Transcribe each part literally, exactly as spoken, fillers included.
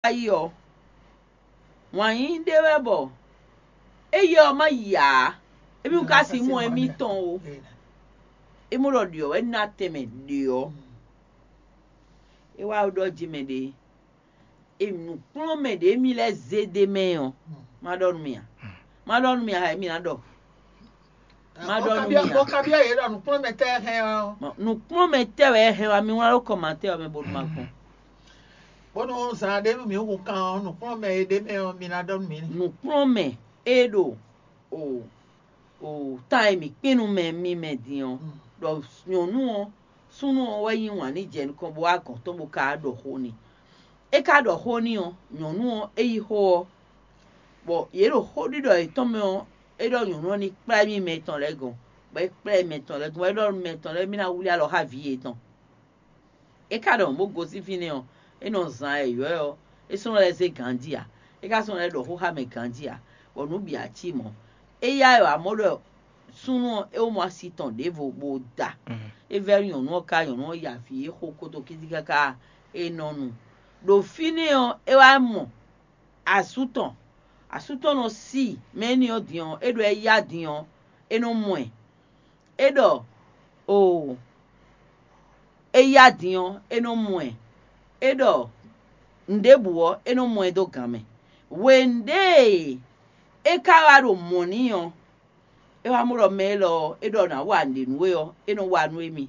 Wáyi ɔ́, wǎn yíyí ɖé wɛ bɔ éyɛ́ ɔ́ má yi ǎ. Émí ka sin mɔ émítɔn ó. É mɔ ɖɔ ɖyɔ̌ wɛ ná tɛnmɛ ɖyɔ̌. É wá ɖɔ jí mɛ ɖé. Emi nǔkplɔ́nmɛ ɖě mi lɛ́ zé ɖ'é mɛ ɔ́, má ɖɔ nú mi ǎ. Má ɖɔ nú mi ǎ, mi ná ɖɔ. Má ɖɔ nú mi ǎ. Bó ka byɔ́ yě ɖɔ nǔkplɔ́nmɛ tɛ́ hɛn ɔ́. Nǔkplɔ́nmɛ tɛ́ wɛ hɛn wá mi wlán ɖó kɔmatɛ́ ɔ́ mɛ bónú ma gbɔn. Bónú zan ɖé nú mǐ hun kan ɔ́, nǔkplɔ́nmɛ e ɖ'é mɛ ɔ́, mi ná ɖɔ nú mǐ. Nǔkplɔ́nmɛ e ɖo o o tan e mǐ kpín nú mɛ mi mɛ din ɔ́, ɖɔ nyɔ̌nu ɔ́, súnnu ɔ́ wɛ yí wǎn n'i jɛ nukɔn bó wá gɔ̌n tɔn bó ka ɖɔ xó n'i. É ka ɖɔ xó n'i ɔ́, nyɔ̌nu ɔ́, é yí xó ɔ́, bɔ yě ɖo xóɖiɖɔ yětɔn mɛ ɔ́, é ɖɔ nyɔ̌nu ɔ́ ní kplá émí mɛ tɔn lɛ́ɛ gɔ́n, bɔ é kplá mɛ tɔn lɛ́ɛ gɔ́n, bɔ é ɖɔ mɛ tɔn lɛ́ɛ mì ná wlí alɔ xá vǐ yětɔn. É ka ɖɔ mɔ̌ bó gosín fínɛ́ ɔ́, é nɔ zan ayɔ̌yɔ́ ɔ́, é sɔ́ nɔ lɛ́ zé ganjí ǎ; é ka sɔ́ nɔ lɛ́ ɖɔ xó xá mɛ ganjí ǎ, bɔ nǔ bǐ ǎ cí mɔ̌. Éyɛ́ wɛ amɔ̌ ɖɔ súnnu ɔ́, é wó mɔ asi tɔn ɖěvo bó da. É vɛ́ nyɔ̌nu ɔ́ ká, nyɔ̌nu ɔ́ ya avǐ é xo kótó kídí káká é nɔ nu. Ɖo fínɛ́ ɔ́, é wá mɔ asú tɔn. Asú tɔn nɔ sí mɛ énɛ́ ɔ́ din ɔ́, é ɖɔ é yá din ɔ́, é nɔ mɔ ɛ. É ɖɔ oo, é yá din ɔ́, é nɔ mɔ ɛ. É ɖɔ nǔɖěbǔ ɔ́, é nɔ mɔ ɛ dó gan mɛ. Hwenu ɖě e é ka wá ɖo mɔ̌ n'i ɔ́, é wá mɔ ɖɔ mɛ élɔ́ ɔ́, é ɖɔ nǎ wa nǔɖé nú we ɔ́, é nɔ wa nú émí.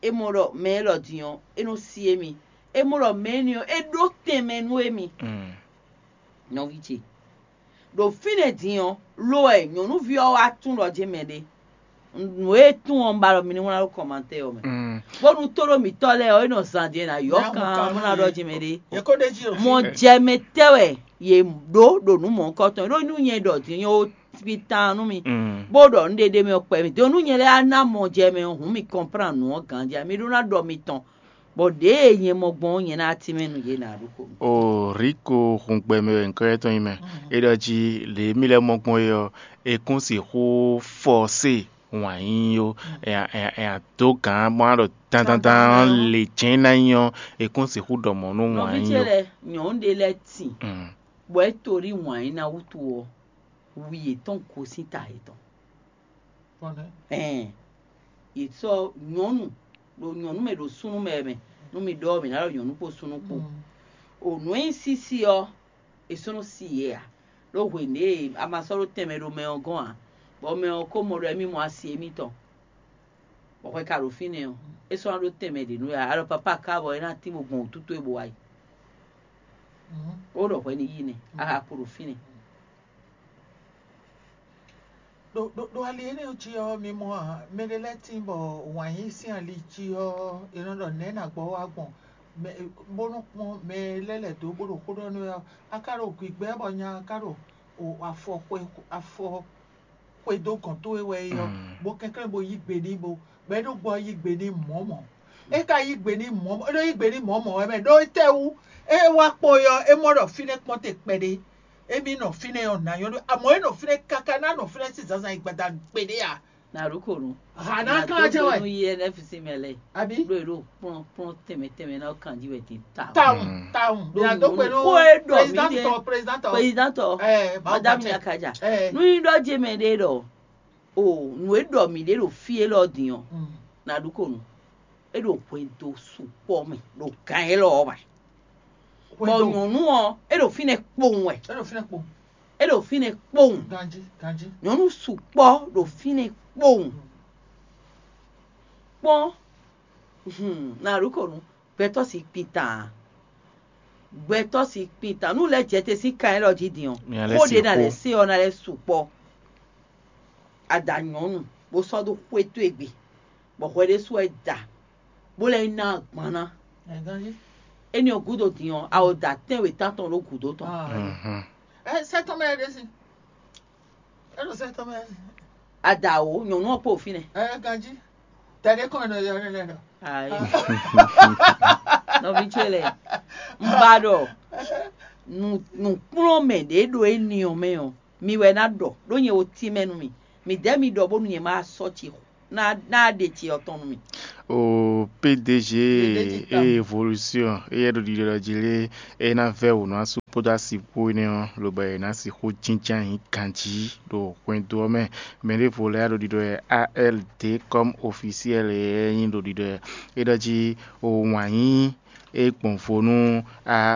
É mɔ ɖɔ mɛ élɔ́ din ɔ́, é nɔ sí émí. É mɔ ɖɔ mɛ énɛ́ ɔ́, é ɖó tɛnmɛ nú émí. Nɔví ce, ɖo fínɛ́ din ɔ́, lo wɛ nyɔ̌nuví ɔ́ wá tún ɖɔ jɛ́n mɛ ɖé. Nǔ e tún ɔ́, un ba ɖɔ mi ní wlán ɖó kɔmatɛ́ ɔ́ mɛ. Bónú tóɖó mǐtɔn lɛ́ɛ ɔ́, é nɔ zan din ná yɔ́ kan bó ná ɖɔ jɛ́n mɛ ɖé. Mɔ jɛ mɛ tɛ́ wɛ yě ɖó ɖo nǔ mɔ̌hunkɔtɔn, ɖó nú nyɛ ɖɔ din nyɛ ó ví tán nú mi, bó ɖɔ nǔɖé ɖé mɛ ɔ́ kpɛ mi. Din nú nyɛ lɛ́ɛ á ná mɔ jɛ mɛ ɔ́, hǔn mi kɔnplán nǔ ɔ́ ganjí, mi ɖó ná ɖɔ mitɔn. Bɔ ɖěe nyɛ mɔ gbɔn ɔ́, nyɛ ná tínmɛ nú yě ná ɖó xo. O Riko hun gbɛ mɛ wɛ nyǐkɔ étɔn nyí mɛ. É ɖɔ jí lě e mì lɛ́ mɔ gbɔn é ɔ́, è kún sixú fɔsé wǎn yíyí ó. È a dǒ gǎn bó ná ɖɔ dandandan lě jɛ́n ná nyí ɔ́, è kún sixú ɖɔ mɔ̌ nú wǎn yíyí ó. Nɔví ce lɛ́ɛ, nyɔ̌nu ɖé lɛ́ɛ tin, bɔ é to ɖi wǎn yíyí ná wútu ɔ́, wi yětɔn gosín ta yětɔn. Ɛn, yě sɔ́ nyɔ̌nu ɖo nyɔ̌nu mɛ ɖo súnnu mɛ mɛ, nú mi ɖɔ mǐ ná ɖɔ nyɔ̌nu kpó súnnu kpó. O nǔ e nyí sísí ɔ́, è sɔ́ nɔ sí yě ǎ, ɖó hwenu e a ma sɔ́ ɖó tɛnmɛ ɖo mɛ ɔ́ gɔ́n ǎ, bɔ mɛ ɔ́ ko mɔ ɖɔ émí mɔ asi émítɔn, bɔ hwɛ ka ɖo fínɛ́ ɔ́, é sɔ́ ná ɖó tɛnmɛ ɖě nú we ǎ. Alɔ papá ka bɔ é ná tín bó gbɔn wǔtútú e bó wá yi. Ó ɖɔ hwɛ ní yí nɛ́, a ka kpo ɖo fínɛ́. Ɖo ɖo ɖo ali énɛ́ ɔ́ jí ɔ́, mi mɔ a? Mɛɖé lɛ́ɛ tíin bɔ wǎn yí sín ali jí ɔ́, è nɔ ɖɔ nɛ̌ nǎ gbɔ wá gbɔn, bó nɔ́ kpɔ́n mɛ e lɛ́ lɛ̌ dó bó ɖo xó ɖɔ nú we ɔ́, a ka ɖo gbigbɛ bɔ nya ka ɖo afɔ xwe afɔ xwe dó gɔ̌n towe wɛ é ɔ́, bó kɛnklɛ́n bó yí gbe n'i bo bɔ é ɖo gbɔ yí gbe n'i mɔ̌ mɔ̌. É ka yí gbe n'i mɔ̌ mɔ̌, é ɖo yí gbe n'i mɔ̌ mɔ̌ wɛ mɛ ɖó étɛ́wú? É wá kpo é ɔ́, é mɔ ɖɔ fínɛ́ kpɔ́n te kpɛɖé. Émí nɔ fínɛ́ ɔ́ nǎ nyɔ́ ɖó amɔ̌ é nɔ fínɛ́ káká ná nɔ fínɛ́ sín zǎnzǎn yi gbada gbeɖé a? Nǎɖuko nu. Hà ná klán jɛ wɛ. Nu yi N F C mɛ lɛ. Abi. Ɖo e ɖo kplɔn kplɔn tɛmɛ tɛmɛ na kan ji wɛ ti ta. Tawun tawun. Ɖo ya do kpe nu. Ko e ɖɔ mi de. Président tɔ, président tɔ. Président tɔ. Ɛɛ madame Yakaja. Ɛɛ. Nu yi ɖɔ je mɛ ɖe ɖɔ. O nu e ɖɔ mi ɖe ɖo fi élɔ́ din ɔ́. Nǎɖuko nu. E ɖo hwɛndo sukpɔ mɛ ɖo gan élɔ́ ɔ́ mɛ. Bɔ nyɔ̌nu ɔ́, é ɖo fínɛ́ kpowun wɛ. É ɖo fínɛ́ kpowun. É ɖo fínɛ́ kpowun. Ganjí ganjí. Nyɔ̌nu sukpɔ ɖo fínɛ́ kpowun. Kpɔ́n, hmm, na ɖo kɔ nu, gbɛtɔ́ si kpin tan. Gbɛtɔ́ si kpin tan. Nú lɛ́ jɛ te sín kan élɔ́ jí din ɔ́, xó ɖé na lɛ́ se ɔ́ na lɛ́ sukpɔ. A da nyɔ̌nu bó sɔ́ dó xwé towe gbe, bɔ hwɛ ɖésú wɛ da, bó lɛ́ ná agban ná. Éní ɔ́ gúdo din ɔ́, a o da tɛ́nwe tántɔn ɖó gǔdo tɔn. Ɛ sɛ tɔn mɛ ɖe si. Ɛ ɖo sɛ tɔn mɛ. A da o nyɔ̌nu ɔ́ kpo fínɛ́. Ɛ ganjí. Tɛɖé kɔn nɔ yɔ lɛ lɔ. Ayi. Nɔví ce lɛ, n ba ɖɔ nǔkplɔ́nmɛ ɖě ɖo éní ɔ́ mɛ ɔ́, mi wɛ ná ɖɔ ɖó nyɛ wo tínmɛ nú mi. Mi dɛ̌ mi ɖɔ bónú nyɛ ma sɔ́ ci Ná ɖe ce ɔ́ tɔn nú mì. O P D G, e évolution éyɛ́ ɖo ɖiɖɔ jí lé, é ná vɛ́ wǔ nú asú kpódó asi kpó énɛ́ ɔ́, lobɔ è nǎ sixú jínjɔ́n ayǐ ganjí ɖo hwɛndo ɔ́ mɛ. Mɛ ɖěvo lɛ́ɛ ɖo ɖiɖɔ wɛ, A L D comme officiel éyɛ́ nyí ɖo ɖiɖɔ wɛ. É ɖɔ jí o wǎn yíyí e gbɔn vo nú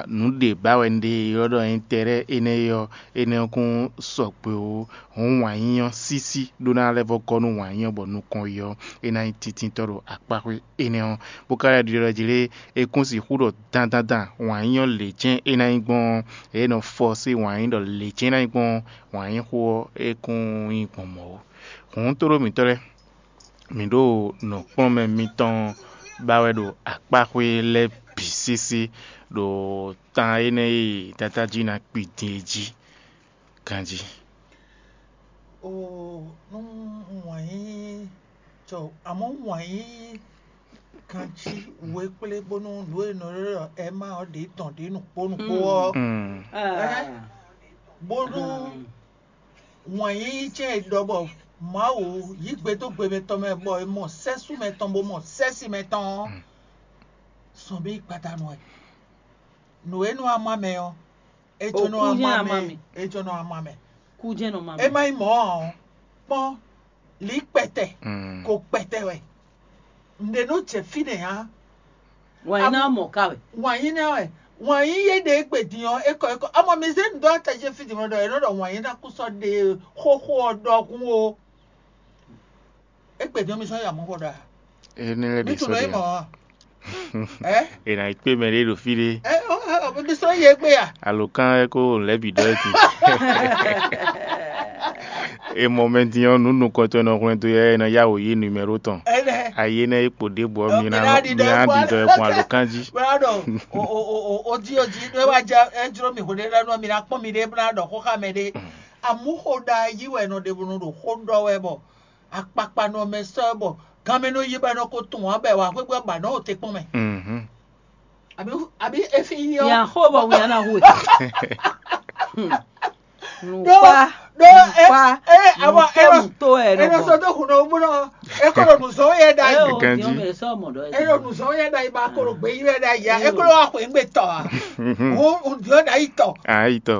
nǔ ɖě ba wɛ un ɖe ylɔ́ ɖɔ ɛntɛ́rɛ́ énɛ́ é ɔ́, énɛ́ ɔ́ kún sɔgbe ó. Hǔn wǎn yíyí ɔ́ sísí ɖó ná lɛ́ vɔ́ gɔ́ nú wǎn yíyí ɔ́ bɔ nukɔn yi ɔ́, é ná nyí tíntítɔ́ ɖo akpáxwé énɛ́ ɔ́. Bó ka lɛ́ ɖiɖɔ jí lé, é kún sixú ɖɔ dandandan wǎn yíyí ɔ́ lě jɛ́n é ná nyí gbɔn ɔ́, é nɔ fɔ sín wǎn yíyí ɖɔ lě jɛ́n é ná nyí gbɔn ɔ́, wǎn yíyí xó ɔ́, é kún nyí gbɔn mɔ̌ ó. Hǔn tóɖó mǐtɔn lɛ́ɛ, mǐ ɖo nǔkplɔ́nmɛ mitɔn ba wɛ ɖo akpáxwé lɛ́ɛ bǐ sésé ɖo tan énɛ́ e Dadá jí ná kpi din é jí ganjí. Oo, nú wǎn yíyí cɔ, amɔ̌ wǎn yíyí ganjí we kplé bónú nǔ e nɔ ɖɔ Ɛma ɔ́ ɖě tɔn ɖě nukpó nukpó ɔ́, bónú wǎn yíyí ce e ɖɔ bɔ Mawu yí gbe dó gbe mɛtɔn mɛ bɔ è mɔ sɛ́sú mɛtɔn bó mɔ sɛ́si mɛtɔn ɔ́, sɔn bí gbadanu wɛ. Nǔ e nɔ ama mɛ ɔ́, é jɔ́nɔ ama mɛ. É jɔ́nɔ ama mɛ. Kú jɛ́n nɔ ma mɛ. É má nyí mɔ̌ ǎ ɔ́, kpɔ́n lǐ kpɛtɛ ko kpɛtɛ wɛ. Nǔɖé nɔ jɛ fínɛ́ ǎ. Wǎn yí ná mɔ ká wɛ. Wǎn yí ná wɛ. Wǎn yí yé ɖe égbé din ɔ́, é kɔ é kɔ. Amɔ mi zé nǔ dó atají fí din mɔ ɖɔ è nɔ ɖɔ wǎn yí ná kú sɔ́ ɖe xóxó ɔ́ ɖɔhun o. Égbé din ɔ́ mi sɔ́ ya mɔ̌ xɔ ɖɔ a? Énɛ́ lɛ́ɛ Mi ɖě tunɔ sɔ́ é ɖe mɔ ǎ. Ɛ? È nǎ yi kpé mɛ ɖé ɖo fí ɖé. Ɛ ɔ ɔ mi sɔ́ yɛ gbé a? Alǒkan ɛ kó lɛ̌ bǐ ɖɔ é jí. È mɔ mɛ din ɔ́, nǔ nukɔntɔn e nɔ hwlɛ́n dó yɛ é nɔ yá wǔ yí numɛ́ro tɔn. Ɛnɛ. Ayi énɛ́ é kpo ɖěbǔ ɔ́, mi ná mi ná ɖiɖɔ ɛ gbɔn alǒkan jí. Bó ná ɖɔ o o o o o jí o jí ɖó é wá jɛ é jló mi hwéɖé lɛ́ɛ nú mi ná kpɔ́n mi ɖé bó ná ɖɔ xó xá mɛ ɖé. Amú xó ɖa yí wɛ nɔ ɖe bo nɔ ɖo xó ɖɔ wɛ bɔ akpakpa nɔ mɛ sɔ́ ɛ bɔ ganmɛ nɔ yí bɔ é nɔ ko tunwun ǎ bɔ è wǎ xwé bɔ é ba nɔ o te kpɔ́n mɛ. Mhm. Àbí àbí efi yí ɔ́. Yàn xó bɔ wíyá ná hu è. Ɖó Nùkpá ɖó ɛ nùkpá ɛ àmọ́ ɛ lọ nùkpɛ́mùtó ɛ ɛ lọ nɔgbɔn. Sɔ́ dó hun nɔ bó nɔ ɛ kó lɔ nù zɔn yɛ ɖa Ɛ yìí. O Ganji. Diɔn mɛ sɔ mɔ ɖɔ Ɛ lɔ nù zɔn yɛ ɖa yìí ba kó lɔ gbé yí wɛ ɖa yìí ya ɛ kó lɔ wá xwé ŋgbé tɔ a. Wo un diɔ ɖa yìí tɔ. Ayi tɔ.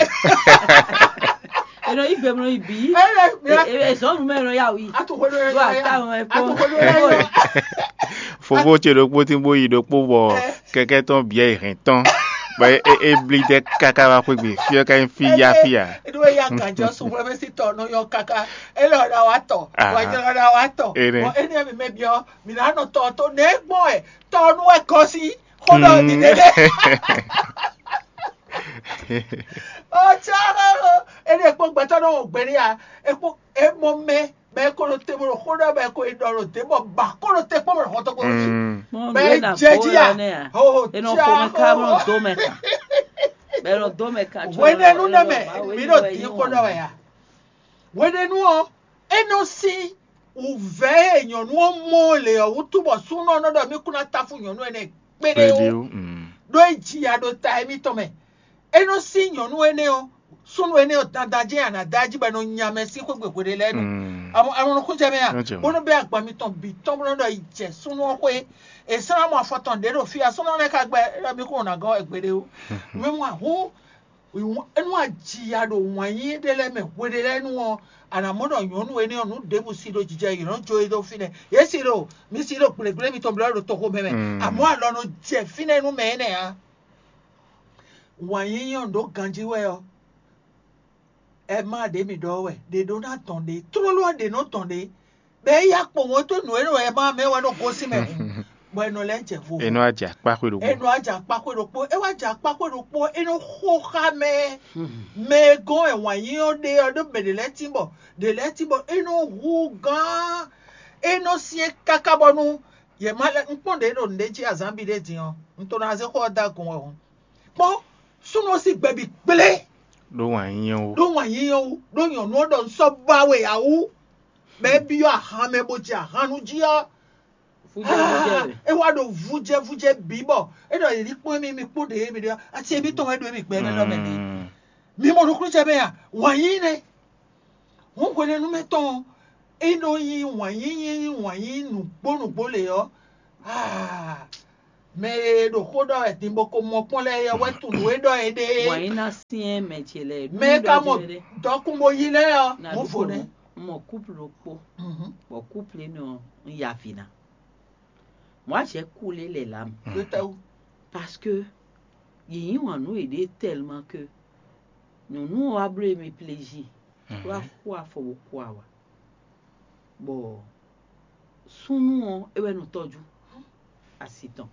Eno yi gbe mlɔ yi bi. Ɛ lɛ mi la Ezɔnu mɛ nɔ ya wi. Atu xwé lɔ yɛ Ɖo yɔ ya. Ata mɛ kpɔn. Atu xwé lɔ yɛ yɔ. Fofo ce ɖokpó tí bó yi ɖokpó bɔ kɛkɛ tɔn bia yi hɛn tɔn. Bɔ e e bli dɛ kaka wá xwé gbe. Fia ka nyí fi ya fia. Eɖo eya gajɔ sunwlɛ bɛ si tɔ nɔ yɔ kaka. Ele ɔda wa tɔ. Aha. Wa jɛ ɔda wa tɔ. Ene. Bɔ ene mi mɛ biɔ mi na nɔ tɔ to ne gbɔn ɛ tɔ nu ɛ kɔsi. Xɔlɔ ni ne dɛ. Ɔtsɛ ene kpɔ gbɛtɔ nɔ wɔ gbɛ ni ya. Ekpɔ emɔ mɛ bɛ ko ɖo te bɔ xɔ ɖɔ bɛ ko yi ɖɔ ɖo te bɔ ba ko ɖo te kpɔ bɔ xɔtɔ ko. Mɔ Bɛ nɖe na jɛ ko jí ya. Ya nɛ a. Ho ho Enɔ tia xɔmɛ ka ho. Bɔ do mɛ kan. Bɛ nɔ do mɛ kan tsɔ. Hwenɛnu nɛ mɛ mi ɖo di xɔ ɖɔ wɛ ya. Hwenɛnu ɔ, e nɔ si wǔvɛ́ e nyɔ̌nu ɔ́ mɔ le ɔ́ wútu bɔ súnnu ɔ́ nɔ ɖɔ mí kún ná táfú nyɔ̌nu énɛ́ kpéɖé ó. Kpéɖé ó. Ɖó é ji ya ɖo ta émítɔn mɛ. É nɔ sí nyɔ̌nu énɛ́ ɔ́, súnnu énɛ́ ɔ́ dandan jɛ́n a nǎ da jí bɔ è nɔ nya mɛ sín xwé gbe hweɖé lɛ́ɛ nu. Amɔ amɔ nɔ kún jɛ mɛ a? Bó nɔ bɛ́ agban mitɔn bǐ tɔn bó nɔ ɖɔ yi jɛ súnnu ɔ́ xwé. È sɔ́ ná mɔ afɔ tɔn ɖě ɖo fí a súnnu ɔ́ nɛ́ ka gbɛ é ɖɔ mí kún ná gɔ́ wɛ gbeɖé ó. Mɛ mɔ ahú é nú a ji ya ɖo wǎn yíyí ɖé lɛ́ɛ mɛ hweɖé lɛ́ɛ nu ɔ́, a nǎ mɔ ɖɔ nyɔ̌nu énɛ́ ɔ́ nǔ ɖěbǔ sí ɖo jijɛ yě nɔ jó e dó fínɛ́. Yě sí ɖo mi sí ɖo gblěgblé mitɔn blɔ́ ɖo toxo mɛ mɛ. Amɔ̌ alɔ nɔ jɛ fínɛ́ nú mɛ énɛ́ ǎ. Wǎn yíyí ɔ́ ɖǒ ganjí wɛ ɔ́, ɛ má ɖě mi ɖɔ wɛ, ɖě ɖó ná dɔn ɖě, tlóló ɔ́ ɖě nɔ dɔn ɖě. Bɔ é yá kpowun é tó nǔ e nɔ ɛ má mɛ wɛ nɔ gosín mɛ hǔn, bɔ è nɔ lɛ́ jɛ vo. È nɔ wá jɛ akpá xwé ɖokpó. È nɔ wá jɛ akpá xwé ɖokpó. É wá jɛ akpá xwé ɖokpó, é nɔ xo xá mɛ. Mɛ e gɔ́n wɛ wǎn yí ɔ́ ɖe ɔ́, ɖó mɛ ɖě lɛ́ɛ tín bɔ ɖě lɛ́ɛ tín bɔ é nɔ hu gán. É nɔ syɛ́n káká bɔnú yě má lɛ́. Un kpɔ́n ɖě ɖo nǔɖé jí azǎn bǐ ɖé din ɔ́, un to ná zé xó ɔ́ dó agun wɛ hǔn. Kpɔ́n súnnu ɔ́ sín gbɛ bǐ kplé. Ɖó wǎn yíyɔ́n ó. Ɖó wǎn yíyɔ́n wú, ɖó nyɔ̌nu ɔ́ ɖɔ un sɔ́ ba we ǎ wú. Bɔ é byɔ́ ahan mɛ bó jɛ ahan nú jí ɔ́, é wá ɖo vújɛvújɛ bǐ bɔ é ɖɔ yě ní kpɔ́n émí mi kpó ɖě émí ɖe asi émítɔn wɛ ɖo émí gbɛ mɛ ɖɔ mɛ ɖě. Mi mɔ nukúnnú jɛ mɛ a? Wǎn yí nɛ́. Hǔn hwenɛ́nu mɛ tɔn É nɔ nyí wǎn yíyí wǎn yíyí nǔgbó nǔgbó lě ɔ́, aa, mɛ e ɖo xó ɖɔ wɛ din bɔ ko mɔ kpɔ́n lɛ́ɛ é ɔ́ wɛ tunwun nǔ e ɖɔ é ɖe é. Wǎnyíná syɛ́n mɛ ce lɛ́ɛ. Mɛ e ka mɔ dɔkun bo yí lɛ́ɛ ɔ́, mɔ̌ vo nɛ́. Un mɔ kúplu ɖokpó, bɔ kúplu énɛ́ ɔ́, un ya avǐ ná. Moi, j'ai coulé les larmes. Ɖó tɛ́wú. Parce que yě yí wǎn nú yěɖée tellement que nyɔ̌nu ɔ́ wá bló émí pléjí, bó wá xo afɔ bó xo awa. Bɔ súnnu ɔ́, é wɛ nɔ tɔ́jú asi tɔn.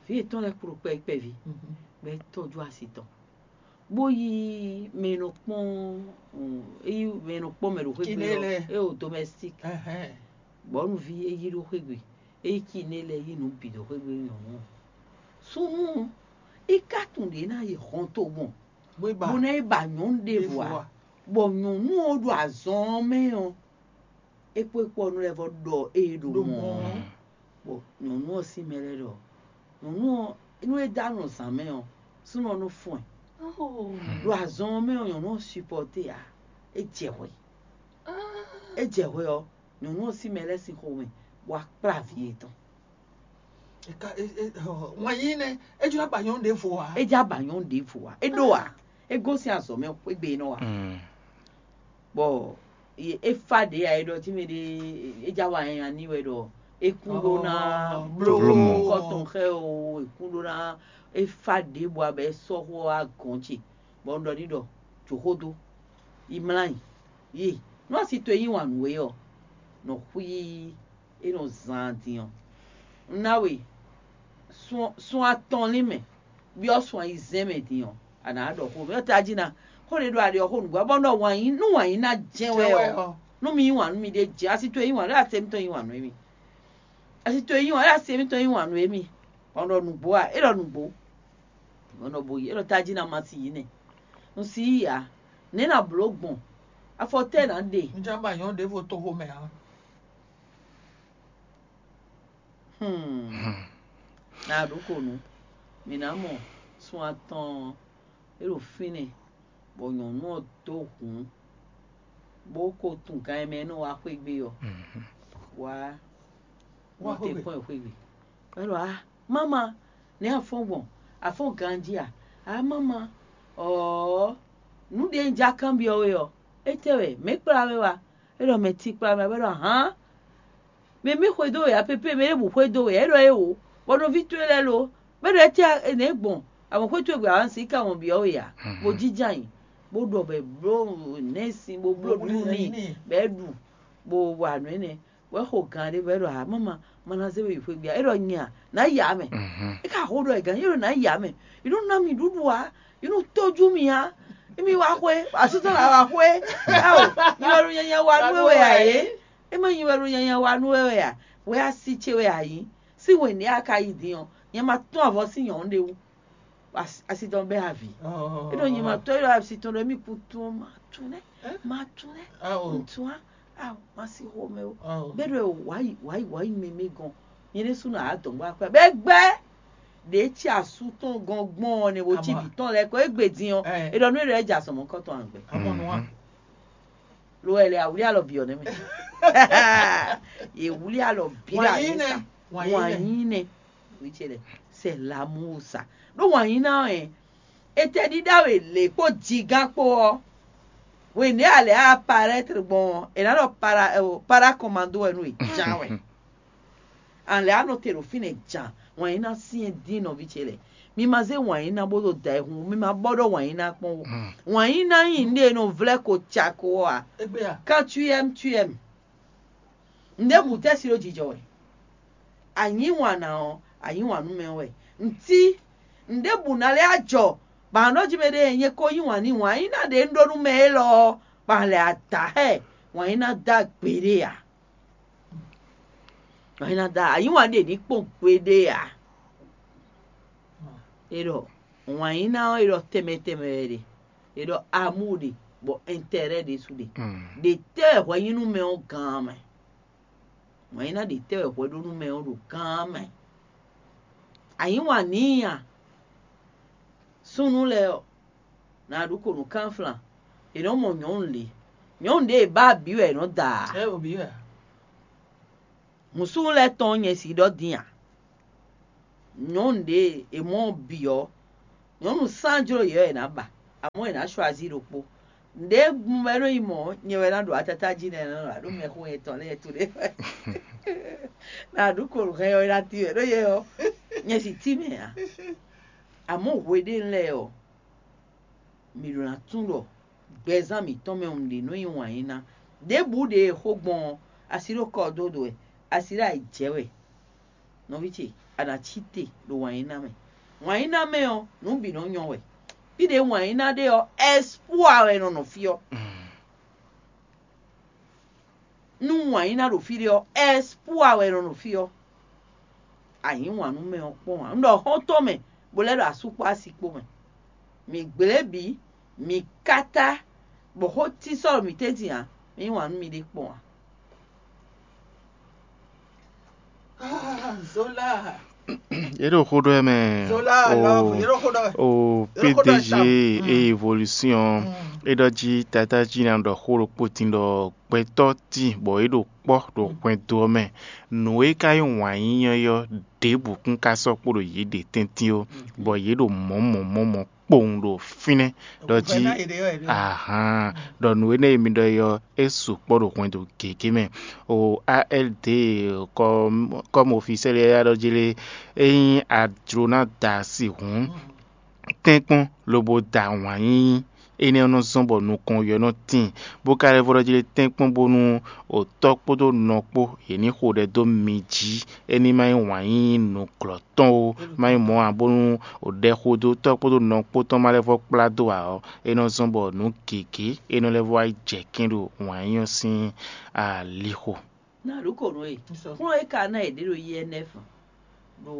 Vǐ yětɔn lɛ́ɛ kpló kpɛví kpɛví, bɔ é tɔ́jú asi tɔn. Bó yí mɛ e nɔ kpɔ́n, é yí mɛ e nɔ kpɔ́n mɛ ɖo xwé gbe ɔ́, é ɖo domɛstík. Bɔ̌nuví é yí ɖó xwé gbe, é yí kiné lɛ́ɛ yí nǔ bǐ ɖó xwé gbe nyɔ̌nu ɔ́. Súnnu ɔ́, é ka tunwun ɖě ná yi hɔntogbɔn, bó ná yi ba nyɔ̌nu ɖěvo ǎ, bɔ nyɔ̌nu ɔ́ ɖo azɔn ɔ́ mɛ ɔ́, é kpó é kpó ɔ́ nú lɛ́ vɔ́ ɖɔ ée ɖo mɔ̌ ɔ́. Bɔ nyɔ̌nu ɔ́ sín mɛ lɛ́ɛ ɖɔ nyɔ̌nu ɔ́, nú é dó anɔ zǎn mɛ ɔ́, súnnu ɔ́ nɔ fɔ́n ɛ. Ɖo azɔn ɔ́ mɛ ɔ́, nyɔ̌nu ɔ́ supɔ́té ǎ, é jɛ hwɛ. É jɛ hwɛ ɔ́, nyɔ̌nu ɔ́ sín mɛ lɛ́ɛ sín xomɛ, bɔ wá kplá vǐ yětɔn. Wǎn yí nɛ́, é jló abǎ nyɔ́nu ɖěvo ǎ. É jló abǎ nyɔ́nu ɖěvo ǎ. É ɖó ǎ. É gosín azɔ̌ mɛ xwé gbe e nɔ wa. Bɔ é fá ɖě ǎ, é ɖɔ jí mɛ ɖé é já wa nyanya n'i wɛ ɖɔ é kún ɖó ná bló kɔtɔn xɛ o, é kún ɖó ná é fá ɖě bɔ abɛ é sɔ́ xó wá gɔ̌n ce, bɔ un ɖɔ n'i ɖɔ jǒ xó dó, yi mlá nyi, yi nú asi towe yí wǎn nú we ɔ́, nɔ xwí é nɔ zán din ɔ́. Un ná we sun atɔn lin mɛ, byɔ́ sun ayizɛ́n mɛ din ɔ́, a nǎ ɖɔ xó mɛ tají ná. Xó ɖé ɖo aɖe ɔ́ xó nǔgbó bɔ nɔ wǎn yí nú wǎn yí ná jɛ́n wɛ ɔ́, nú mi yí wǎn nú mi ɖé jɛ asi towe yí wǎn ɖé ase mitɔn yí wǎn nú émí. Asi towe yí wǎn ɖé ase mitɔn yí wǎn nú émí. Bɔ nɔ nǔgbó a é ɖɔ nǔgbó. Bɔ nɔ bo yí é ɖɔ tají ná ma si yí nɛ. Un si yí ǎ. Nɛ̌ ná blǒ gbɔn? Afɔ tɛ́ ná ɖe? Un já ba nyɔ̌nu ɖěvo toxo mɛ ǎ. Hmm. Na ɖokonu, mǐ ná mɔ sun atɔn ɔ́, é ɖo fínɛ́, bɔ nyɔ̌nu ɔ́ dó hǔn, bó ko tunwun gan e mɛ é nɔ wá xwé gbe ɔ́, wá nɔ te kpɔ́n ɛ xwé gbe. É ɖɔ a máma, nɛ̌ a fɔ́n gbɔn? A fɔ́n ganjí a? A máma, ɔ̌, nǔ ɖě un já kanbyɔ́ we ɔ́, étɛ́ wɛ mɛ̌ kplá we wá? É ɖɔ mɛ tíkplá mɛ, bɔ é ɖɔ hǎn. Mɛ mɛ xwedó wɛ ǎ, pépé mɛ ɖěbǔ xwedó wɛ ǎ, é ɖɔ éwo, bɔ nɔví towe lɛ́ɛ lo, bɔ é ɖɔ étɛ́ nɛ̌ gbɔn? Avɔn xwé towe gbe awǎn si ka wɔn byɔ́ we ǎ, bó jínjɔ́n ayǐ, bó ɖɔ bɔ è bló nɛ̌ sin, bó bló nǔɖuɖu n'i, bɔ é ɖu, bó wa nǔ énɛ́, bɔ é xo gan ɖé, bɔ é ɖɔ ǎ, máma, ma ná zé we yi xwé gbe ǎ, é ɖɔ nyɛ a, nǎ yi amɛ. É ka xo ɖɔ è gǎn, é ɖɔ nǎ yi amɛ, yi nú ná mì ɖuɖu ǎ, yi nú tójú mì á, émí wá xwé, asútɔ́ ná wá xwé, áwo, nyi wɛ ɖo nyanya wa nú we wɛ ǎ é. É má nyí wɛ ɖo nyanya wa nú we wɛ a? Wɛ asi ce wɛ a nyǐ. Sín hwenu e a ka yi din ɔ́, nyɛ ma tún avɔ sín nyɔ̌nu ɖé wú. Asi tɔn bɛ́ avǐ. É ɖo nyɛ ma tɔ́, é ɖo asi tɔn ɖɔ émí kún tún ɔ́, ma tún nɛ́, ma tún nɛ́, un tún á, a ma sí xomɛ ó. Bɛ́ ɖɔ wǎ yi wǎ yi wǎ yi mɛmɛ gɔn. Nyɛ ɖésúnɔ ǎ dɔ̌n bó akwɛ́ bɛ́ gbɛ́. Ɖě cí asú tɔn gɔn gbɔn ɔ́ nɛ wo cí vǐ tɔn lɛ́ɛ kɔ égbé din ɔ́, é ɖɔ nú é ɖɔ é jɛ azɔ̌ mɔ̌kɔ́tɔn ǎ gbɛ. Lo wɛ lɛ awuli alɔ bi ɔ nɛ mɛ. Ye wuli alɔ bi la Wanyine. Wanyine. Wanyine. Witse lɛ. C'est l'amour ça. Ɖó wanyina ɛ, etɛ ɖiɖa wɛ lě kpó jigán kpó ɔ́. Wěnɛ́ alɛ a parɛtr gbɔn ɔ́, è nǎ ɖɔ para ɛ o para kɔmando wɛ nú è ján wɛ. Alɛ a nɔ te ɖo fínɛ́ jan wanyina syɛ́n dín nɔví ce lɛ. Mi ma zé wǎn yí ná bó ɖo da ɛ hun, mi ma bɔ ɖɔ wǎn yí ná kpɔ́n ó. Wǎn yí ná nyí nǔɖé e nɔ vlɛ́ ko ca ko ɔ́ ǎ. Égbé a? Quand tu aimes, tu aimes. Nǔɖé bǔ tɛ́ si ɖó jijɔ wɛ. A nyǐ wǎn ná ɔ́, a nyǐ wǎn nú mɛ ɔ́ wɛ. Ntí nǔɖé bǔ ná lɛ́ ajɔ, bɔ a nɔ jí mɛ ɖé nyɛ ko yí wǎn n'i wǎn yí ná ɖě un ɖó nú mɛ élɔ́ ɔ́, bɔ a lɛ ada xɛ wǎn yí ná dó agbeɖé ǎ. Wǎn yí ná dó a nyǐ wǎn ɖě ní kpɔ́n gbeɖé ǎ. É ɖɔ wǎn yí ná ɔ́, é ɖɔ tɛnmɛ tɛnmɛ wɛ ɖe. È ɖɔ amour ɖe, bɔ intérêt ɖésú ɖe. Ɖe tɛ́ wɛ hwɛ nyí nú mɛ ɔ́ gán mɛ. Wǎn yí ná ɖe tɛ́ wɛ hwɛ ɖó nú mɛ ɔ́ ɖo gán mɛ. A nyǐ wǎn n'i a? Súnnu lɛ́ɛ ɔ́, nǎ ɖu ko nǔ kánflan. È nɔ́ mɔ nyɔ̌nu lě. Nyɔ̌nu ɖě e bá bǐ wɛ è nɔ da ǎ. Ɛ o bǐ wɛ. Mǔsúnú lɛ́ɛ tɔn nyɛ si ɖɔ dín ǎ. Nyɔ̌nu ɖě e mɔ bǐ ɔ́, nyɔ̌nu sán jló yě wɛ è nǎ ba, amɔ̌ è nǎ chwazi ɖokpó. Nǔɖé gun wɛ nɔ yi mɔ̌, nyɛ wɛ ná ɖo atata jí nɛ́ nɔ ɖo mɛxó yɛtɔn lɛ́ɛ to ɖé wɛ. Na ɖu kolo hɛn ɔ́, é ná tín wɛ ɖó yɛ ɔ́, nyɛ si tín mɛ ǎ. Amɔ̌ hweɖénu lɛ́ɛ ɔ́, mǐ ɖo ná tunwun ɖɔ gbɛzán mǐtɔn mɛ ɔ́, nǔɖé nɔ nyí wǎn yí ná. Ɖěbǔ ɖě e xó gbɔn ɔ́, asi ɖo kɔ dó ɖo wɛ, asi ɖo ayǐ jɛ wɛ. Nɔví ce, a nǎ cí te ɖo wǎn yí ná mɛ. Wǎn yí ná mɛ ɔ́, nǔ bǐ nɔ nyɔ wɛ. Fí ɖě wǎn yí ná ɖe ɔ́, ɛspúa wɛ nɔ nɔ fí ɔ́. Nú wǎn yí ná ɖo fí ɖé ɔ́, ɛspúa wɛ nɔ nɔ fí ɔ́. A nyǐ wǎn nú mɛ ɔ́ kpɔ́n ǎ. Un ɖɔ xɔ́ntɔn mɛ, bó lɛ́ ɖo asú kpó asi kpó mɛ. Mǐ gblé bǐ, mǐ káká, bɔ xó cí sɔ́ ɖo mǐ tɛ́ntin ǎ, mǐ yí wǎn nú miɖée kpɔ́n ǎ. Yě ɖo xó ɖɔ wɛ mɛ. O P D G e évolution é ɖɔ jí Tata jí ná ɖɔ xó ɖokpó tín ɖɔ gbɛtɔ́ tíin bɔ é ɖo kpɔ́ ɖo hwɛndo ɔ́ mɛ. Nǔ e ka nyí wǎn yíyɔ́ ɔ́ ɖěbǔ kún ka sɔ́ kpo ɖo yě ɖě tɛ́ntin ó, bɔ yě ɖo mɔ̌ mɔ̌ mɔ̌ mɔ̌ kpowun ɖo fínɛ́ ɖɔ jí ahan ɖɔ nǔ énɛ́ e mi ɖɔ é ɔ́ é sukpɔ́ ɖo hwɛndo gěgé mɛ. O A L D kɔ́mu ofisɛ́li yáyá ɖɔ jí lé, ényí a jló ná da asi hǔn, tɛ́nkpɔ́n lobo da wǎn yíyí énɛ́ ɔ́ nɔ zɔ́n bɔ nukɔn yɔ nɔ tíin, bó ka lɛ́ vɔ́ ɖɔ jí lé tɛ́nkpɔ́n bónú otɔ́ kpódó nɔ kpó yě ní xo ɖɛ dó mi jí, é ní ma nyí wǎn yíyí nǔglɔ́ tɔn ó, má nyí mɔ̌ ǎ, bónú ɖɛxodótɔ́ kpódó nɔ kpó tɔn ma lɛ́ vɔ́ kplá dó ǎ ɔ́, é nɔ zɔ́n bɔ nǔ gěgé é nɔ lɛ́ vɔ́ wá yi jɛ kɛ́n ɖo wǎn yíyí ɔ́ sín alixo. Na ɖu kǒ nú we. Kplɔ́n e ka ná yě ɖe ɖo I N F ɖo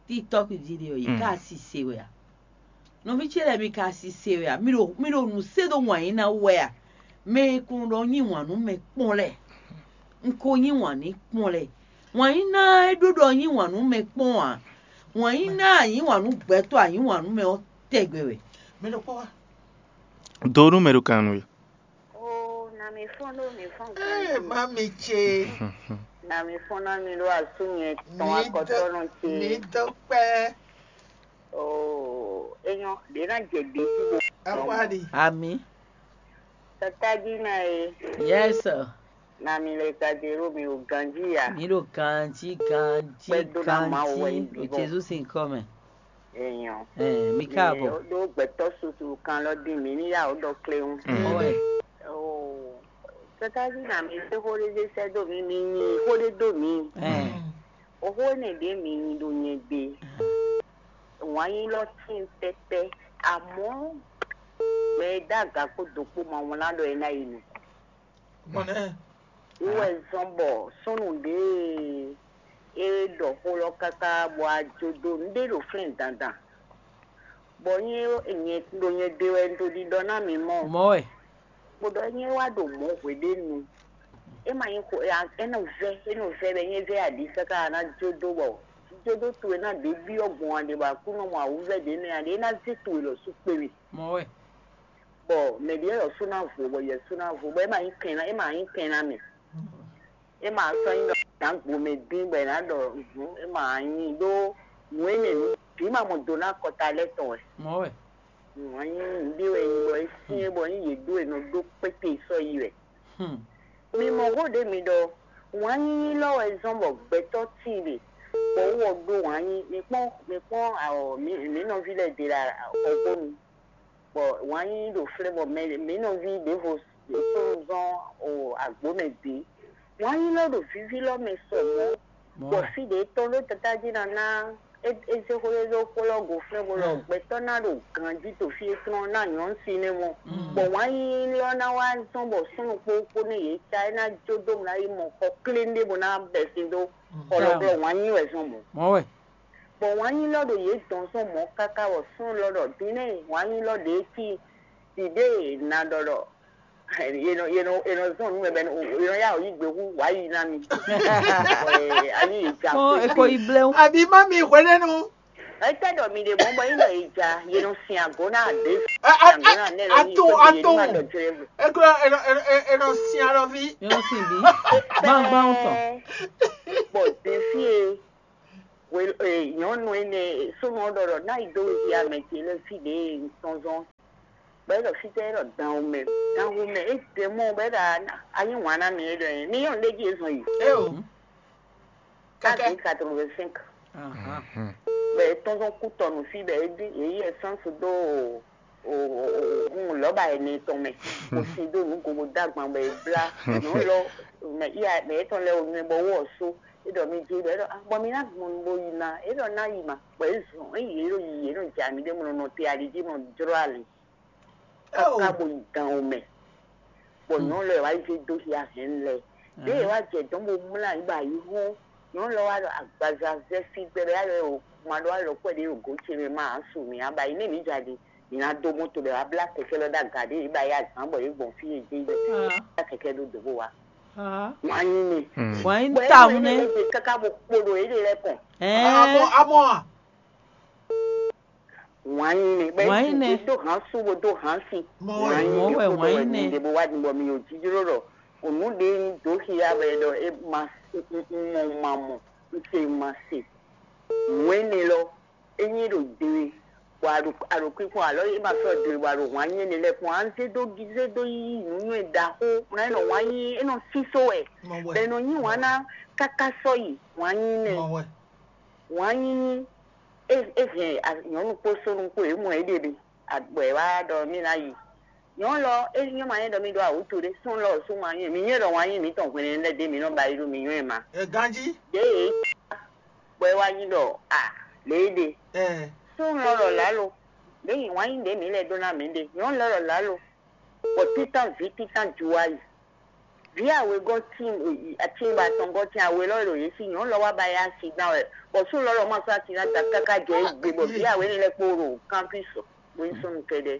TikTɔk jí ɖe ɔ́, yě ka asi se wɛ a? Nɔví ce lɛ́ɛ, mi ka asi se wɛ a? Mi ɖo mi ɖo nǔ se ɖó wǎn yí ná wɛ a? Mɛ e ko ɖɔ nyí wǎn nú mɛ kpɔ́n lɛ́ɛ, un ko nyí wǎn ní kpɔ́n lɛ́ɛ. Wǎn yí ná é ɖó ɖɔ nyí wǎn nú mɛ kpɔ́n ǎ. Wǎn yí ná a nyǐ wǎn nú gbɛtɔ́ a nyǐ wǎn nú mɛ ɔ́ tɛgbɛ wɛ. Mi ɖo kpɔ́ wá. Do nú mɛ ɖo kan nú we. Oo, na mi fɔ́n ɖó mi fɔ́n gan. Ee, má mi ce. Na mi fɔ́n ná mi ɖó asú nyɛ tɔn akɔtɔ́nɔ ce. Mi dó kpẹ́. Oo, enyɔ ɖě ná jɛ ɖě jí bo. Akwáɖi. Ami. Tata jí ná e. Yes. Na mi lɛ ka jɛ ɖó mi o ganjí ya. Mi ɖo ganjí ganjí Kpɛdó ná Mawu wɛ ganjí yí ɖo bíbɔ. Jesu sin kɔ mɛ. Enyɔ. Ɛɛ, mi káàbọ̀. Ɖó gbɛtɔ́ susu kan lɔ dín mi ní yá o ɖɔ kléwún. Mɔ wɛ. Oo, tata jí na mi fẹ́ xó ɖé sɛ́ dó mi, mi nyi xó ɖé dó mi. Ɛɛ. Oxó énɛ́ ɖě mi nyi ɖo nyɛ gbe. Wǎn yí lɔ tín pɛpɛ. Amɔ̌ gbɛ e dó aga kpó do kpó ma wlán ɖɔ é ná yi nukɔn. Gbɔn nɛ. Wíwɛ zɔn bɔ súnnu ɖě e ɖɔ xó lɔ káká bɔ a jó dó nǔɖé ɖo flɛ́n dandan. Bɔ nyɛ nyɛ ɖo nyɛ ɖe wɛ un ɖo ɖiɖɔ ná mi mɔ. Mɔ wɛ. Kpodɔ nyɛ wá ɖo mɔ̌ hweɖénu. É ma nyí xo é nɔ vɛ é nɔ vɛ bɛ nyɛ vɛ aɖi káká ná jó dó bɔ jódó towe ná ɖě byɔ́ gbɔn aɖe bɔ Aklúnɔ mɔ awǔvɛ́ ɖě mɛ aɖe é ná zé towe lɔ sú kpé we. Mɔ wɛ. Bɔ mɛ ɖě lɔ sú ná vo bɔ yɛ sú ná vo bɔ é ma nyí kɛn ná é ma nyí kɛn ná mɛ. É ma sɔ́ nyí ɖɔ nǎ gbo mɛ dín bɔ è nǎ ɖɔ hǔn é ma nyí ɖó nǔ énɛ́ nǔ bǐ ma mɔ do ná kɔta lɛ́ tɔn wɛ. Mɔ wɛ. Wǎn nyí nǔɖé wɛ nyí bɔ é syɛ́n bɔ nyí yě ɖó è nɔ ɖó kpéte sɔ́ yi wɛ. Hmm. Mi mɔ xó ɖě mi ɖɔ wǎn nyínyí lɔ wɛ zɔ́n bɔ gbɛtɔ́ tíin ɖe, bɔ wú ɔ ɖó wǎn nyí. Mi kpɔ́n mi kpɔ́n awɔ mǐ mǐ nɔví lɛ́ɛ ɖe ɖo xɔgbónu, bɔ wǎn nyínyí ɖo flɛ́ bɔ mɛ mǐ nɔví ɖěvo súnnu zɔ́n o agbǒ mɛ bǐ. Wǎn nyínyí lɔ ɖo víví lɔ mɛ sɔ mɔ̌, bɔ fí ɖě tɔn ɖó tata jí ná ná é é zé xó ɖé ɖó xó lɔ go flɛ́ bó ɖɔ gbɛtɔ́ ná ɖo ganjí to fí é tlɔ́n ná nyɔ̌nu si nɛ́ mɔ. Bɔ wǎn nyínyí lɔ ná wá zɔ́n bɔ súnnu kpó kpó nú yě cá é ná jó dó ná yi mɔ xɔ klé ɖé bó ná bɛsin dó xɔ lɔ glɔ́ wǎn nyínyí wɛ zɔ́n mɔ̌. Mɔ wɛ. Bɔ wǎn nyínyí lɔ ɖo yě dɔn zɔ́n mɔ̌ káká bɔ súnnu lɔ ɖɔ din nɛ́ wǎn nyínyí lɔ ɖě cí ɖiɖée na ɖɔ ɖɔ yě nɔ yě nɔ yě nɔ zɔ́n nǔ mɛ bɔ yě nɔ yá wǔ yí gbe hú wǎ yi ná mi. Bɔ ali yě ja Kpɔn eko yi blɛ́. Àbí má mi hwenɛ́nu. Etɛ ɖɔ mi ɖe mɔ bɔ yín ɖɔ yě ja yě nɔ sin agǒ ná àdé. Ato, ato. Eklo eno eno eno si alɔvi. Yɔn si bi. Gbangban tɔn. Bɔ ɖevi e we e nyɔnu ene sunu ɔdɔ ɖɔ na yi do yi ame ce lɛ fi ɖe nsɔnzɔn. Bɛ ɖɔ fitɛ ɖɔ dan wo mɛ, dan wo mɛ e ɖe mɔ bɛ ɖa anyi wan na mi e ɖɔ mi yɔn ɖe ji ezɔn yi. Eo. Kaka. Quatre-vingt-cinq. Bɛ tɔnzɔn kutɔnu fi bɛ e ɖi e yi essence do o o o lɔba ɛnɛ tɔn mɛ, o si do nugo bo dagban bɛ e bla nɔ lɔ mɛ iya mɛ etɔn lɛ o nyɛ bɔ wɔ so e ɖɔ mi dzi bɛ ɖɔ bɔ mi na gbɔn bo yi na e ɖɔ na yi ma bɔ e zɔn e yi e ɖo yi e nɔ dza mi ɖe mɔ nɔ te ali dzi mɔ jlɔ ali kaka bo yi gan o mɛ bɔ nyɔnu lɛ wa yi do hia hɛn lɛ ɖe e wa jɛ dɔn bo mla yi ba yi hɔn nyɔnu lɛ wa ɖɔ agbaza zɛ fi gbɛ bɛ ya lɛ o ma ɖo alɔ kɔ ɖe o go ce mɛ ma asu mi aba yi ne mi dza ɖi mi na do moto bɛ wa bla kɛkɛ lɔ ɖe aga ɖe e ba yi azan bɔ e gbɔn fi e dze yi bɛ bla kɛkɛ ɖo dobo wa. Wǎn yí mi. Wǎn yí Bɔ ta enu ŋu ene nɛ. Lɛ dze kaka bo kpo ɖo yě ɖe lɛ kɔn. Amɔ Ɛɛ, amɔ a. Wǎn yí mi. Bɛ Wǎn yí nɛ. Dó hǎn sú bo dó hǎn sí. Mɔ Wǎn wɛ. Yí Mɔ mi wɛ kpo wǎn ɖo yí wɛ nɛ. Mi ɖe bo wá di bɔ mi yǒ jijló ɖɔ. Ònú ɖe nyí dǒ xia wɛ ɖɔ é ma mɔ ma mɔ. Ń se ma se. Nǔ énɛ́ lɔ, é nyí ɖo dwe, bɔ a ɖo a ɖo kpínkpɔ́n alɔ é ma sɔ́ dwe bɔ a ɖo wǎn nyí énɛ́ lɛ́ɛ kpɔ́n. A zé dó zé dó yí nǔnywɛ́ ɖaxó, mlá é nɔ wǎn nyí é nɔ sísó wɛ, Mɔ wɛ. Bɔ è nɔ nyí wǎn ná káká sɔ́ yi wǎn nyí nɛ. Mɔ wɛ. Wǎn nyí é é hɛn a- nyɔ̌nu kpó súnnu kpó yě mɔ é ɖe mi, agbɔ̌ é wá ɖɔ mí ná yi. Nyɔ̌nu lɔ é nyɔ́ ma nyɛ ɖɔ mí ɖó awǔtu ɖé, súnnu lɔ ɔ́ sú wǎn nyí mi nyɛ ɖɔ wǎn nyí mǐtɔn hwenu lɛ́ɛ ɖé mi nɔ ba yi ɖo mi nyɔ́ ɛ ma. Ɛ ganjí. Ɖěe é bɔ é wá nyí ɖɔ a lě é ɖe. Ɛ Súnnu lɔ ɖɔ lǎlo, ɖě nyi wǎn nyí ɖě mǐ lɛ́ ɖó ná mǐ ɖe. Nyɔ̌nu lɔ ɖɔ lǎlo, bɔ títán vǐ títán ju wá yi. Vǐ awegɔ́ tín atín ba tɔn gɔ́ tín awe lɔ ɖo yě sí nyɔ̌nu lɔ wá ba yá si dán wɛ, bɔ súnnu lɔ lɔ ma sɔ́ asi ná da káká jɛ é gbe bɔ vǐ awe énɛ́ lɛ́ɛ kpó ɖo kanfí sɔ bó nyí súnnu kɛ́ɖɛ́.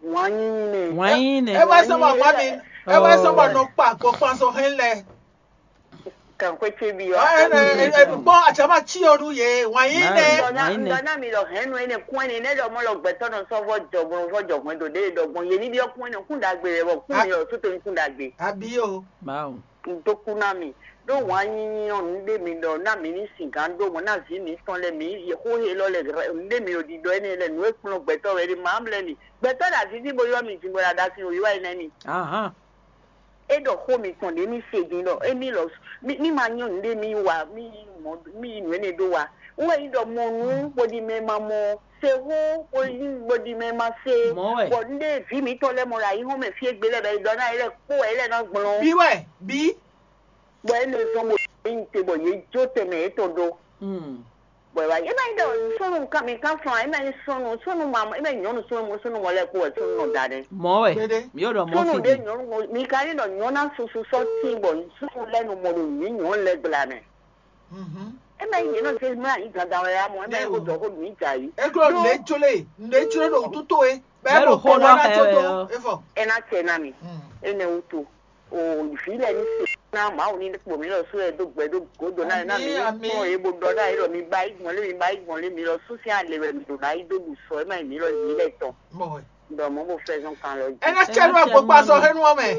Wǎn nyínyí nɛ. Wǎn nyí nɛ. Ɛ wá sɔ́ bɔ má mi, ɛ wá sɔ́ bɔ nɔ kpa gbɔkpan sɔ hɛn lɛ. Kan xwé ce bi Ɔ, ɔ. Ɛ ɛ ɛ ɛ kpɔn atsama tsi ɔ nu ye wǎn nyí nɛ. Wǎn nyí nɛ. Ŋdɔ ná mi lɔ hɛn nu ene kún ene ne ɖɔ mɔ lɔ gbɛtɔ nɔ sɔ vɔ jɔgbɔn vɔ jɔgbɔn do ɖe ɖɔ gbɔn ye ni bi ɔ kún ene kún ɖagbe wɛ bɔ kún mi ɔ sóto ni kún ɖagbe. Abi o. Báwo. Ŋdó kú ná mi ɖó wǎn nyínyí ɔ nu ɖe mi ɖɔ ná mi ní sin gán ɖó mɔ ná vi mi tɔn lɛ mi ye xó he lɔ lɛ nu ɖe mi ò ɖiɖɔ ene lɛ nu e kplɔn gbɛtɔ wɛ ɖe ma mlɛ mi gbɛtɔ ɖe azizi bo yɔ mi din bɔ ɖe aɖasi o yɔ ene mi. Ahán. É ɖɔ xó mitɔn ɖě mì se din ɖɔ émí lɔ mì mì ma nyɔ́ nǔɖé mì wa mì mɔ mì yi nǔ énɛ́ ɖó wa. Wú wɛ nyí ɖɔ mɔ nǔ bó ɖi mɛ ma mɔ, se hó bó yí bó ɖi mɛ ma se, Mɔ̌ wɛ. Bɔ nǔɖé vǐ mǐtɔn lɛ́ɛ mɔ ɖo ayǐhɔ́n mɛ fí e gbe lɛ́ɛ bɔ é ɖɔ ná é lɛ́ kpó wɛ é lɛ́ ná gblɔ́n. Bí wɛ, bí. Bɔ é nɔ zɔ́n bó yí te bɔ yě jó tɛnmɛ yětɔn ɖó. Mm. Bɔ é wá é má nyí ɖɔ súnnu kan mi kan fún wa é má nyí súnnu súnnu ma é má nyí nyɔ̌nu súnnu súnnu mɔ lɛ́ɛ kó wɛ súnnu nɔ da nɛ́. Mɔ̌ wɛ. Kpéɖé. Mi yóò ɖɔ mɔ̌ Súnnu fi ɖé ɖe. Nyɔ̌nu mi ka ní ɖɔ nyɔ̌nu ná susu sɔ́ tín bɔ súnnu lɛ́ɛ nɔ mɔ ɖo nyǐ nyɔ̌nu lɛ́ɛ gbla mɛ. Mhm. É má nyí yě nɔ zé mlá yí dandan wɛ amɔ é má nyí kó Yɛ́ o. Dɔ kó mǐ dza yí. Ego Ɖó- nɖe jló e nɖe jló ɖo wútu tó e. Bɛ́ Bɛ́ ɖo ɖo xó kɔ lɔ wá ná xɛ tó wɛ dó ɔ. Efɔ. É ná tɛ ná mi. Mm. Énɛ́ wútu. O vǐ lɛ́ɛ ní se ná Mawu ní kpo mǐ lɔ sú ɛ dó gbɛ dó gǒdo ná ná mi Amín, ní amín. Kpɔ́n yě bó ɖɔ ná yě ɖɔ mi ba yí gbɔn lé mi ba yí gbɔn lé mi lɔ sú sín alě wɛ mi ɖo ná yí dó ɖu sɔ é má nyí mǐ lɔ yǐ lɛ́ tɔn. Mɔ wɛ. Ɖɔ mɔ̌ bó fɛ́ zɔn kan lɔ jí. Ena cɛ nú agbokpa sɔ hɛn nú ɔmɛ.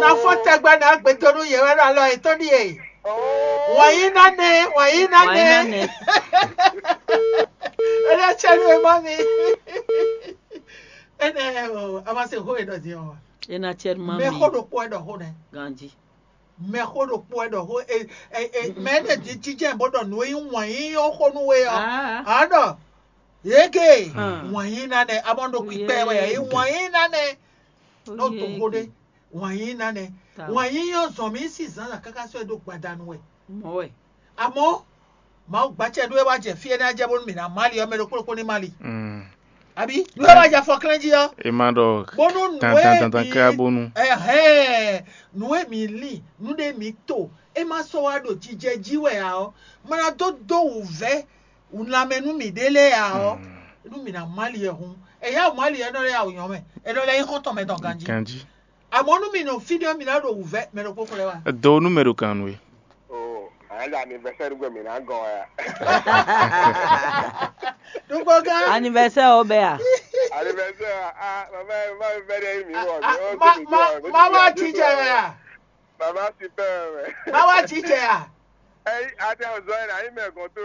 Na fɔ tɛgbɛ na gbɛtɔ nú yɛ wɛ ɖo alɔ yětɔn ɖíe. Wǎn yí ná nɛ, wǎn yí ná Wǎn yí ná nɛ. Nɛ. Ena cɛ nú emɔ mi. Ene o, a ma se xó e ɖɔ din ɔ. Ena cɛ nú ma mi. Mɛ xó ɖokpó e ɖɔ xó nɛ. Ganji. Mɛ xó ɖokpó e ɖɔ xó e e e mɛ ne di jijɛ bó ɖɔ nǔ e nyí wǎn yí ɔ́ xó nú we ɔ́. Ah. A ɖɔ. Yeke Hmm. Wǎn yí ná nɛ, a mɔ ɖo kpikpɛ wɛ yí wǎn yí ná nɛ. N'o to xó ɖé. Wǎn yí ná nɛ. Wǎn yí yɔ zɔn mí sí zǎnzǎn káká sɔ́ ɛ ɖó gbadanu wɛ. Mɔ̌ wɛ. Amɔ̌, Mawu gbacɛ ɖó é wá jɛ fí énɛ́ jɛ bónú mǐ ná má li ɔ́, mɛ ɖokpó ɖokpó ní má li. Mm. Àbí? Nú é wá jɛ afɔklɛ́n jí ɔ́. E ma ɖɔ Bónú nǔ e tantantantan mǐ ká bónú. Ɛhɛn, nǔ e mǐ lin, nǔ ɖé mǐ to, é má sɔ́ wá ɖo jijɛ jí wɛ ǎ ɔ́, má ná dó dó wǔvɛ́ lanmɛ nú mǐɖée lɛ́ɛ ǎ ɔ́, Mm. nú mǐ ná má li ɛ hǔn. Ɛyá wǔ má li ɛ nɔ lɛ́ yá wǔ nyɔ́ mɛ, ɛ nɔ lɛ́ nyí xɔ́ntɔn mɛ tɔn ganjí. Ganjí. Àmọ́ nú mi nɔ fí ɖé ɔ́, mi ná ɖo wǔvɛ́ mɛ ɖokpó xlɛ́ wá. Do nú mɛ ɖo kan nú we. Oh, à ń dà anniversaire gbé mi ná gɔn ẹ. Ɖokpó gán. Anniversaire ɔ bɛ a? Anniversaire a? Ah, mama, mama bɛ ɖe mi wɔ. Ah, ah, mi o ma, ma, mama teacher wɛ a? Mama super wɛ. Mama teacher a? Ɛyi, ati azɔ yɛ na yi mɛ gɔn to.